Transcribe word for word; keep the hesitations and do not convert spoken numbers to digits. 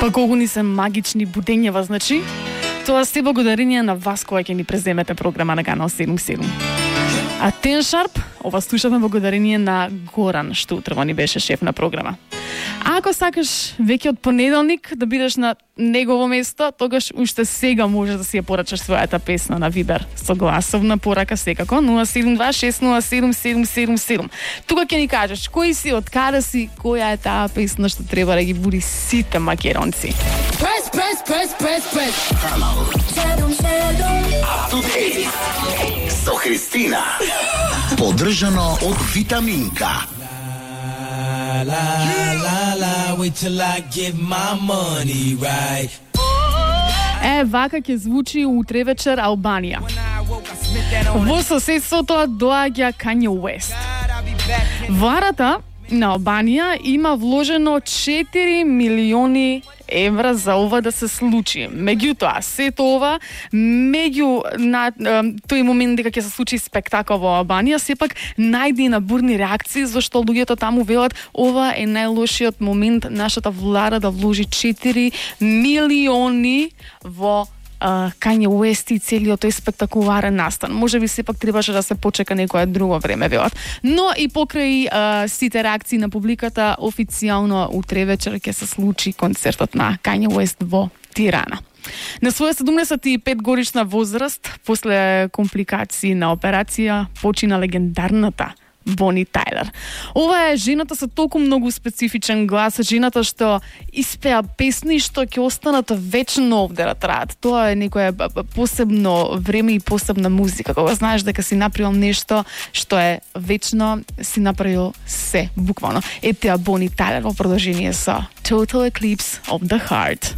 Па колку ни се магични будењева, значи, тоа се благодарение на вас која ќе ни преземете програма на Канал седум седум. А Ten Sharp, ова слушавме благодарение на Горан, што утрово ни беше шеф на програма. А ако сакаш веќе од понеделник да бидеш на негово место, тогаш уште сега можеш да си ја порачаш својата песна на Вибер со гласовна порака секако нула седум два шест нула седум седум седум седум. Тука ќе ни кажеш кој си, од каде си, која е таа песна што треба да ги буди сите македонци. Press, press, press, press, press. Канал седум седум. Up to date. Со Христина. Поддржано од Витаминка. La la la, wait till I get my money right. Е, вака ќе звучи утре вечер Албанија. Во соседството доаѓа Kanye West. Варата на Албанија има вложено четири милиони евра за ова да се случи. Меѓутоа, сето ова, меѓу на тој момент дека ќе се случи спектакол во Албанија, сепак најде на бурни реакции, зашто луѓето таму велат ова е најлошиот момент нашата влада да вложи четири милиони во Uh, Kanye West и целиот тој спектакуларен настан. Може би сепак требаше да се почека некое друго време, велат. Но и покрај uh, сите реакции на публиката, официјално утре вечер ќе се случи концертот на Kanye West во Тирана. На своја седумдесет и пет годишна возраст, после компликации на операција, почина легендарната Бони Тајлер. Ова е жената со толку многу специфичен глас, жената што испеа песни што ќе останат вечно овде да траат. Тоа е некое посебно време и посебна музика. Кога знаеш дека си направил нешто што е вечно, си направил се, буквално. Ете ја Бони Тајлер во продолжение со Total Eclipse of the Heart.